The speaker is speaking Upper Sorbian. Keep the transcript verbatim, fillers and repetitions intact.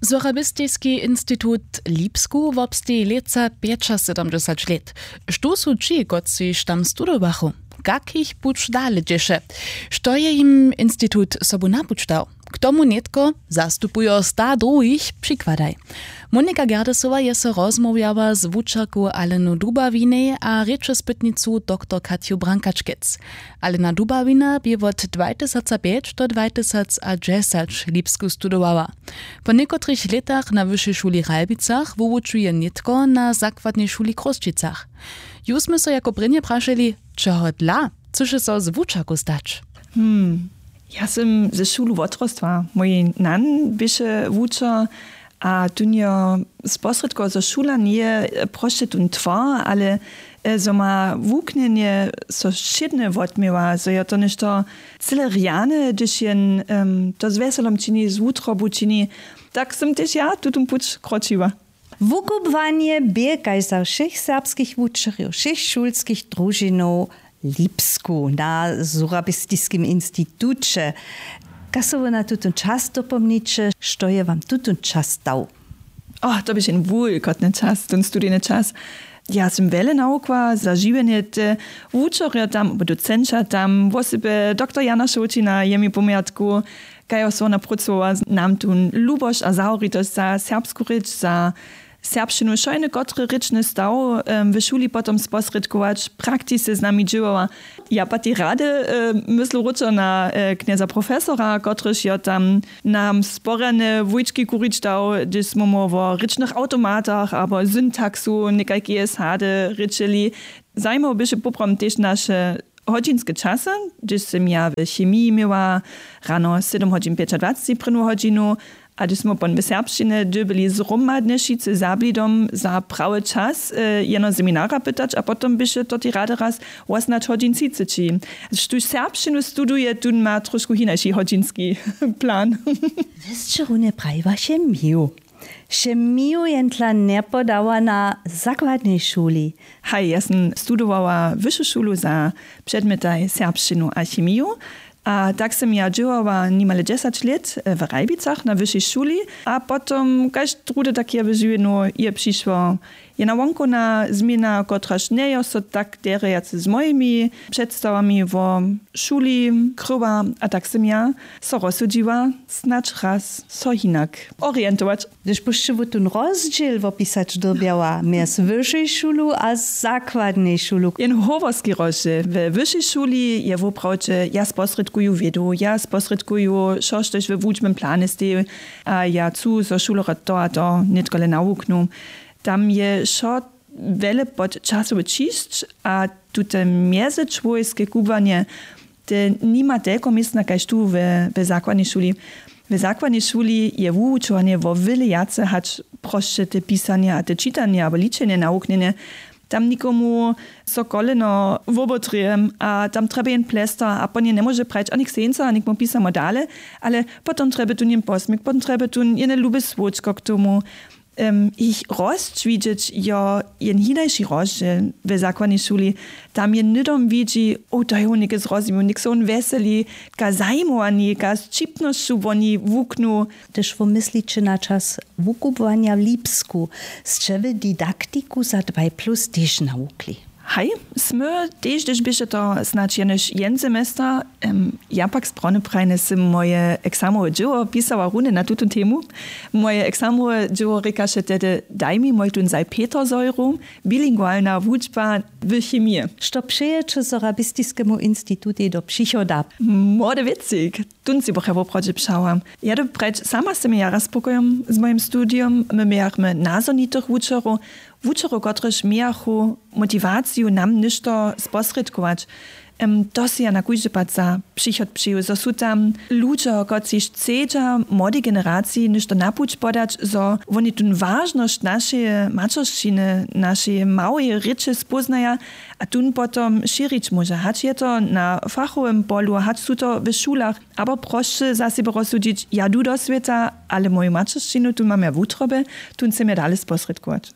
Sorabistiski institut w Lipsku wobsteji lětsa pjećasydomdźesać lět. Štó su ći, kotřiž tam studowachu? Kak jich puć dale dźěše? Što je jim institut sobu na puć dał? K tomu nětko zastupujo sta druhich. Přikładaj. Monika Gerdesowa je so rozmołwjała z wučerku Alenu Dubawinej a rěčespytnicu doktor Katju Brankačkec. Alena Dubawina bě wot dwatysacapjeć do dwatysacadźesać w Lipsku studowała. Po někotrych lětach na wyšej šuli w Ralbicach wuwučuje nětko na zakładnej šuli w Chrósćicach. Ju smy so jako prěnje prašeli, čehodla chcyše so z wučerku stać? Hmm. Ja sym ze šulu wotrostła. Mój nan běše wučer a tón jo sposrědkował, zo šula njeje prosće tón twar, ale e, zo ma wuknjenje so wšědne wotměła, zo jo to něšto cyle rjane, hdyž jen em, to z wjeselom čini, z wutrobu čini, tak sym tež ja tutón puć kročiła. Wukubłanje bě kaž za wšěch serbskich wučerjow wšěch šulskich družinow w Lipsku na Surabistiskim instituće. Kaž so wy na tutón čas dopomniće, što je wam tutón čas dał? Oh, to běše jen wulkotny čas, tón studijny čas. Ja sym wjele nawukła za žiwjenje te wučerjo tam abo docenća tam, wosebje doktor Jana Šołćina je mi pomjatku, kaž so wona prócowa, nam tón luboš a zahoritosć za serbsku rěč, za serbšćinu, wšojny kotry rěčny staw w šuli potom sposrědkować, praktisce z nami dźěłała. Ja pak tej rady myslu wróćo na knjeza profesora, kotryž jo tam nam sporjane wujčki kurić dał, hdyž smy mu wo rěčnych awtomatach abo syntaksu někajkeje sady rěčeli. Zajimawe běše poprawom tež naše hodźinske časy, hdyž sym ja w chemiji měła rano sydom hodźin pjećadwaceći prěnu hodźinu, a hdyž smy pon w serbšćinje dyrbjeli zhromadnje wšitcy za blidom za prawy čas jeno seminara pytać a potom běše to tej rady raz wosomnaće hodźin třiceći. Štóž serbšćinu studuje, tón ma trošku hinaši hodźinski plan. Wy sće runje prajiła chemiju. Chemiju jentla njepodała na zakładnej šuli. Haj, ja sym studowała wyšu šulu za předmjetaj serbšćinu a chemiju. A tak sym ja dźěłała nimale dźesać lět w Ralbicach na wyšej šuli a potom kaž druhdy tak je w žiwjenju je přišło jena wonkowna změna, kotraž njejo so tak derje wjace z mojimi předstawami wo šuli kryła. A tak sym ja so rozsudźiła, snadź raz so hinak orientować. Hdyž byšće wótón rozdźěl wopisać dyrbjała mjez wyšej šulu a zakładnej šulu? Jen howorski rozdźěl. We wyšej šuli je woprawdźe, ja sposrědkuju wědu, ja sposrědkuju wšo štož we wučbnym planje steji, a ja chcu zo šulerjo to a to nětkole nawuknu. Tam je wšo wjele pod časowy ćišć a tute mjezyčłowjeske kubłanje, te nima telko městna kaž tu we zakładnej šuli. We zakładnej šuli je wuwučowanje wo wjele wjace hač prosće te pisanje a te čitanje abo ličenje nawuknjene. Tam někomu so koleno wobotrěje a tam trjeby jen plestar a pon je njemóže prajić a něk sejnca a něk mu pisamo dale. Ale potom trjeby tón jen posměk, potom trjeby tón jene lube słódčko k tomu. Jich rosć widźeć jo jen hinaši rozdźěl. We zakładnej šuli tam je hnydom widźi, o to je wón něke zrozmił, něk so wón wjeseli, ka zajimowani ka z ćipnosću woni wuknu. Hdyž wómysliće na čas wukubłanja w Lipsku, sće wy didaktiku za dwaj plus tež nawukli? Haj, smy tež hdyž běše to snadź jenož jen semester. Ja pak z prawneprajne sym moje eksamowe dźěło pisała runje na tutón temu. Moje eksamowe dźěło rěkaše tehdy daj mi moj tón zaj peter zojru, bilingualna wučba w chemije. Što přejeće sorabistiskemu institutej do přichoda? Młody wěcik. Tón sej bych ja woprawdźe přała. Ja dyrbju prjeć sama sym jara spokojom z mojim studijom. My mějachmy nazhonitych wučerjow, wučerjow kotryž mějachu motiwaciju nam něšto sposrědkować. To sej ja na kóždy pad za přichod přeju zo su tam ludźo kotřiž chcedźa młodej generaciji něšto na puć podać zo woni tón wažnosć našeje maćeršćiny našeje małeje rěče spóznaja a tón potom šěrić móža hač je to na fachowym polu hač su to w šulach abo prosće za sebje rozsudźić ja du do swěta, ale moju maćeršćinu tón mam ja wutroby, tón chcem ja dale sposrědkować.